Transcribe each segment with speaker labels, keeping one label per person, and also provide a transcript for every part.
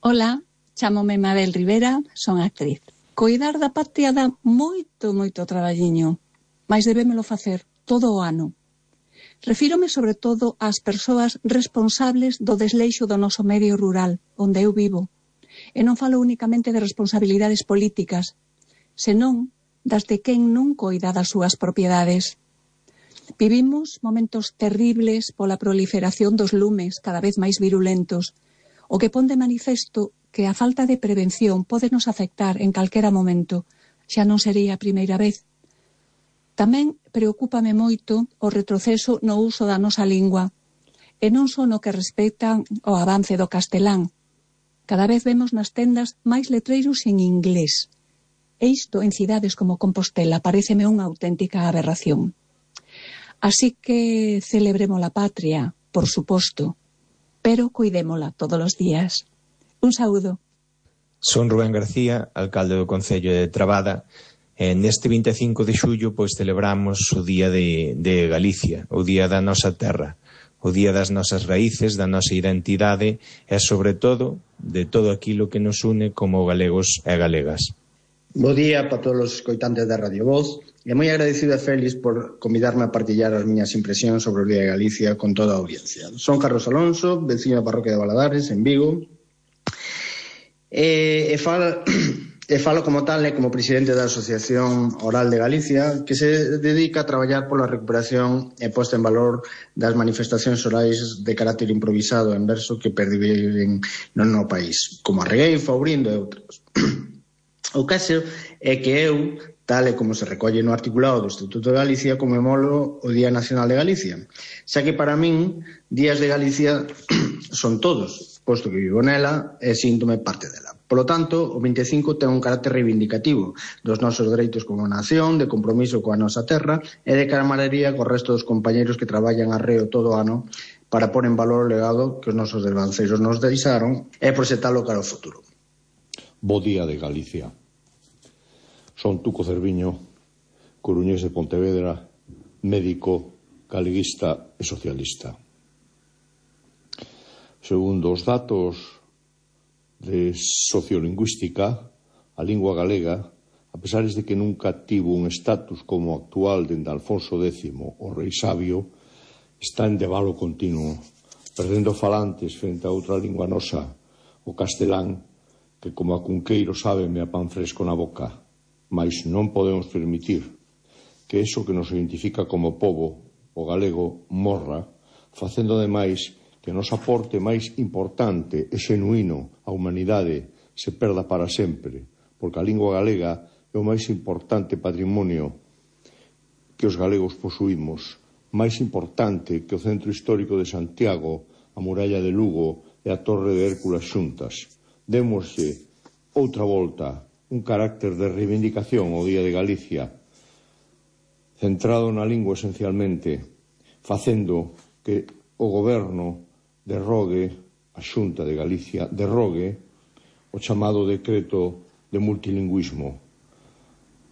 Speaker 1: Ola, chámome Mabel Rivera, son actriz. Coidar da patria dá moito traballiño, mais debémolo facer todo o ano. Refírome sobre todo ás persoas responsables do desleixo do noso medio rural, onde eu vivo. E non falo únicamente de responsabilidades políticas, senón das de quen non coida das súas propiedades. Vivimos momentos terribles pola proliferación dos lumes cada vez máis virulentos, o que pon de manifesto que a falta de prevención pode nos afectar en calquera momento, xa non sería a primeira vez. Tamén preocúpame moito o retroceso no uso da nosa lingua, e non só no que respecta ao avance do castelán. Cada vez vemos nas tendas máis letreiros en inglés. E isto en cidades como Compostela paréceme unha auténtica aberración. Así que celebremos a patria, por suposto, pero cuidémola todos os días. Un saúdo.
Speaker 2: Son Rubén García, alcalde do Concello de Trabada. Neste 25 de xullo pois celebramos o Día de Galicia, o Día da nosa terra, o Día das nosas raíces, da nosa identidade e, sobre todo, de todo aquilo que nos une como galegos e galegas.
Speaker 3: Bo día para todos os escoitantes da Radio Voz e moi agradecido a Félix por convidarme a partillar as miñas impresións sobre o Día de Galicia con toda a audiencia. Son Carlos Alonso, veciño da parroquia de Valadares, en Vigo, e falo como tal e como presidente da Asociación Oral de Galicia, que se dedica a traballar pola recuperación e posta en valor das manifestacións orais de carácter improvisado en verso que perviven no país, como a regueifa, o brindo e outros. O caso é que eu, tal e como se recolle no articulado do Estatuto de Galicia, comemoro o Día Nacional de Galicia, xa que para min días de Galicia son todos, posto que vivo nela e síntome parte dela. Polo tanto, o 25 ten un carácter reivindicativo dos nosos dereitos como nación, de compromiso coa nosa terra e de camaradería co resto dos compañeiros que traballan arreo todo o ano para pôr en valor o legado que os nosos devanceiros nos deixaron e proxectalo cara ao futuro.
Speaker 4: Bo día de Galicia. Son Tuco Cerviño, coruñés de Pontevedra, médico, galeguista e socialista. Segundo os datos de sociolingüística, a lingua galega, a pesar de que nunca tivo un estatus como actual dende Alfonso X, o rei sabio, está en debalo continuo, perdendo falantes frente a outra lingua nosa, o castelán, que como a cunqueiro sábeme a pan fresco na boca, mais non podemos permitir que eso que nos identifica como pobo, o galego, morra, facendo ademais que o noso aporte máis importante e xenuíno á humanidade se perda para sempre, porque a lingua galega é o máis importante patrimonio que os galegos posuímos, máis importante que o centro histórico de Santiago, a muralla de Lugo e a torre de Hércules xuntas. Démoslle outra volta, un carácter de reivindicación ao Día de Galicia, centrado na lingua esencialmente, facendo que o goberno derrogue, a Xunta de Galicia derrogue o chamado decreto de multilingüismo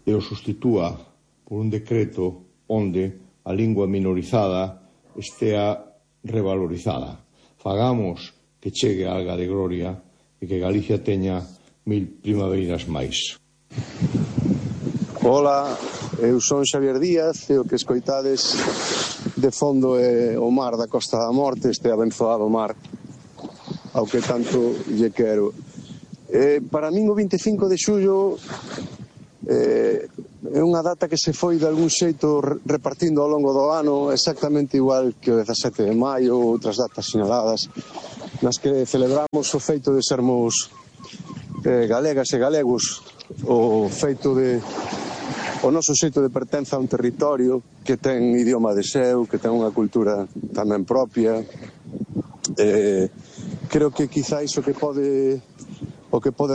Speaker 4: e o sustitúa por un decreto onde a lingua minorizada estea revalorizada. Fagamos que chegue a alga de gloria e que Galicia teña 1000 primaveiras máis.
Speaker 5: Ola, eu son Xavier Díaz e o que escoitades de fondo é o mar da Costa da Morte, este abenzoado mar ao que tanto lle quero. Para min o 25 de xullo é unha data que se foi de algún xeito repartindo ao longo do ano exactamente igual que o 17 de maio ou outras datas sinaladas nas que celebramos o feito de sermos galegas e galegos, o feito de o noso xeito de pertenza a un territorio que ten idioma de seu, que ten unha cultura tamén propia. Creo que quizáis o que pode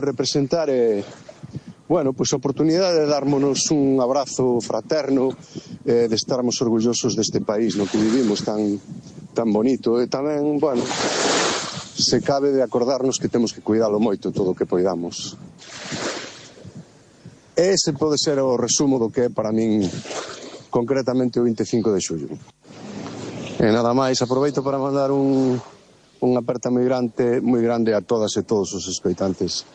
Speaker 5: representar é pois a oportunidade de darmonos un abrazo fraterno, de estarmos orgullosos deste país no que vivimos tan bonito, e tamén, se cabe de acordarnos que temos que cuidalo moito todo o que poidamos. Ese pode ser o resumo do que é para min concretamente o 25 de xullo. E nada máis, aproveito para mandar un unha aperta moi grande a todas e todos os escoitantes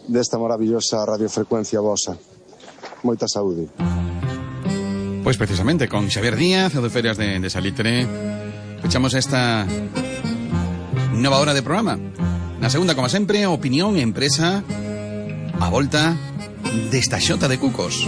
Speaker 5: desta maravillosa radiofrecuencia vosa. Moita saúde.
Speaker 6: Pois precisamente con Xavier Díaz, o de Ferias de Salitre, fechamos esta nova hora de programa. Na segunda, como sempre, opinión e empresa a volta desta xota de cucos.